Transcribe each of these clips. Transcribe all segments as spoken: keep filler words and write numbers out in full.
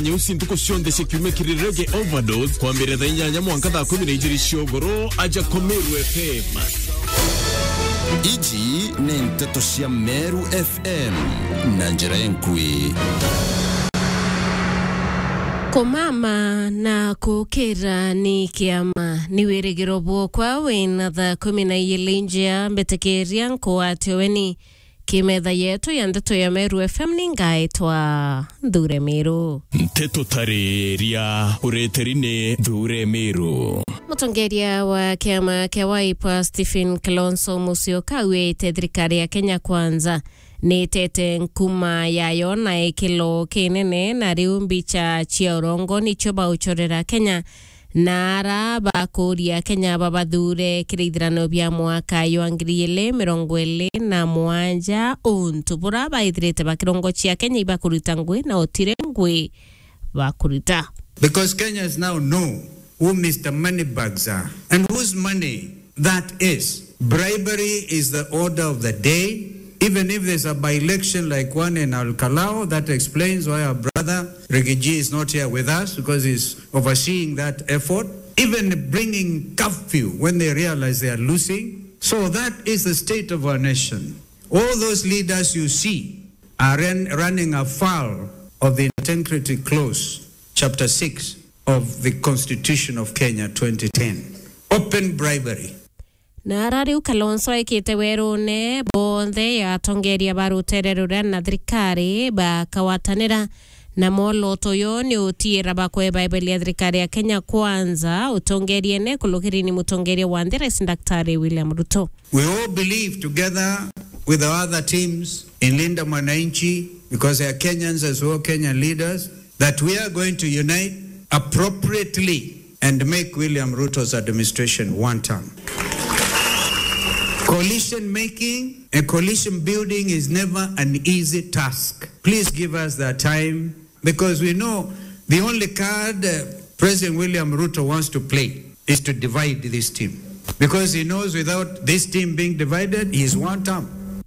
Nyeusi ntuku cionthe cia kiumia kiri Reggae Overdose, kwambiriria thaa inyanya mwanka thaa kumi na ijiri cia ugoro, aja kwa Meru F M. Iji ni nteto cia Meru F M na njira enkui. Kumama na kukira ni kiama, ni wirigiro bwokwa wina thaa kumi na ijiri njia, mbitikiria nkwate weni. Kimetha yetu ya ndeto ya Meru F M ni ngaitwa Nthure Miru. Nteto tariria ureteri ni Nthure Miru. Mutongeria wa kiama kia Wiper Stephen Kalonzo Musyoka auite thirikari ya Kenya Kwanza ni itete nkuma yayo na ikilo kinene, na riu mbicha cia urongo nicio bauchorera Kenya. Na ara bakuria Kenya babathure kiri ithurano bia mwaka jwa ngiri ijiri mirongo iri na mugwanja, untu bura baithirite bakirongochia Kenya ibakuruta ngui na utire ngui bakuruta. Because Kenyans now know who Mister Moneybags are and whose money that is. Bribery is the order of the day. Even if there's a by-election like one in Al Kalau, that explains why our brother Riggy G is not here with us, because he's overseeing that effort. Even bringing curfew when they realize they are losing. So that is the state of our nation. All those leaders you see are ran-, running afoul of the integrity clause, chapter six of the Constitution of Kenya twenty ten. Open bribery. Na ara riu Kalonzo aikite werune bonthe ya atongeria ba rutere ruria na thirikari bakagwatanira na mwoloto uyu ni utiira bakwe Bible ya thirikari ya Kenya Kwanza, utongeriene kulukiri ni mutongeria wa nthi, Rais Daktari William Ruto. We all believe together with our other teams in Linda Mwananchi, because they are Kenyans as well, Kenyan leaders, that we are going to unite appropriately and make William Ruto's administration one term. Coalition making and coalition building is never an easy task. Please give us that time, because we know the only card, uh, President William Ruto wants to play is to divide this team, because he knows without this team being divided, he is one term.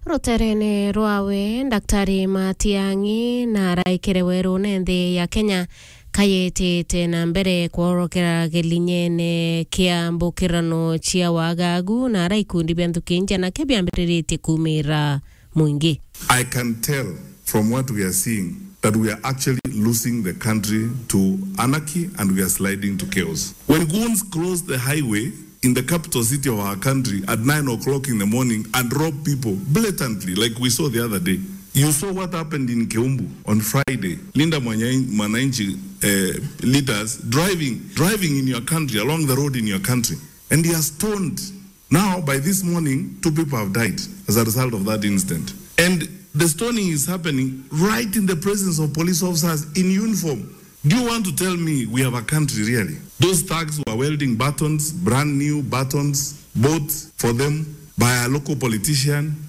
Ruterene rwawe, Daktari Matiang'i na araikire werune nthi ya Kenya kayetete na mbere kworokera gilinyene kia mbukirano cia wagagu, na ara ikundi bia nthuki nja nakio biambiriritie kumira mwingi. I can tell from what we are seeing that we are actually losing the country to anarchy and we are sliding to chaos. When goons close the highway in the capital city of our country at nine o'clock in the morning and rob people blatantly, like we saw the other day. You saw what happened in Keumbu on Friday. Linda Mwanya-, Mwananchi, eh, leaders driving, driving in your country, along the road in your country, and they are stoned. Now, by this morning, two people have died as a result of that incident. And the stoning is happening right in the presence of police officers in uniform. Do you want to tell me we have a country, really? Those thugs were welding batons, brand new batons, bought for them by a local politician.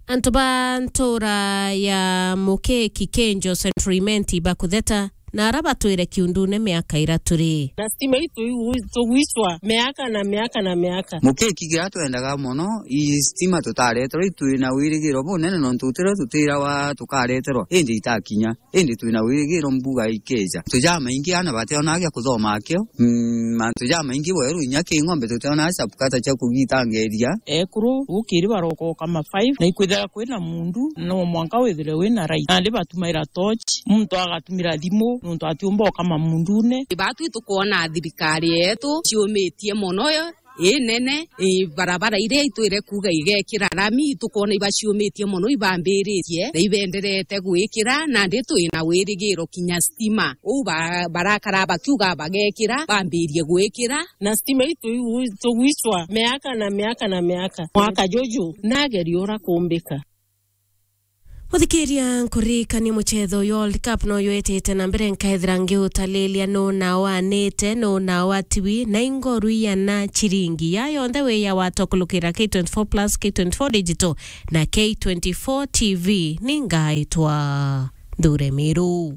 Antu ba ntura ya Mukeki, Kenjo, Central Imenti bakutheta na ara batwire kiundune miaka ira turi. Na stima itu iu tugwicwa miaka na miaka na miaka. Mukeki kiria twendaga mono, i stima tutareterwa, itwina wirigiro bunene nontu tutiria tutirawa tukareterwa, indi itakinya. Indi twina wirigiro mbuga ikeja. Mantu jamaingi ana bationaa gia kuthoma akio. Mm, mantu jamaingi bweru inya ki ng'ombe tutionaa chapukata cia kugitangeria. Ekuru gukiri barokoka ma five, na ikwithira kwina mundu, no mwanka withire wina right. Nandi batumaira torch, muntu agatumira thimu, nontu atiumba ukama mundune. Batwi tukwona thirikari yetu ciumitie mono yo, inene, i, barabara iria itwire kuuga igekira rami, tukwona ibaciumitie mono, ibambiritie na ibenderete gwikira, nandi twina wirigiro kinya stima. Uu ba-, barakara bakiuga bagekira, bambirie gwikira. Na stima itu iu tugwicwa miaka na miaka na miaka. Mwaka juju, nageria ura kumbika. Muthikiria, nkuririkanie muchetho uyu World Cup no yetete na mbere, nkaethira ngiutalilia nu nao anite, nu nao atiwi, na ingoru iana chiringi. Ya yonthe wi ya watwa kulukira K twenty-four plus, K twenty-four Digital na K twenty-four T V. Ni ngaitwa Nthure Miru.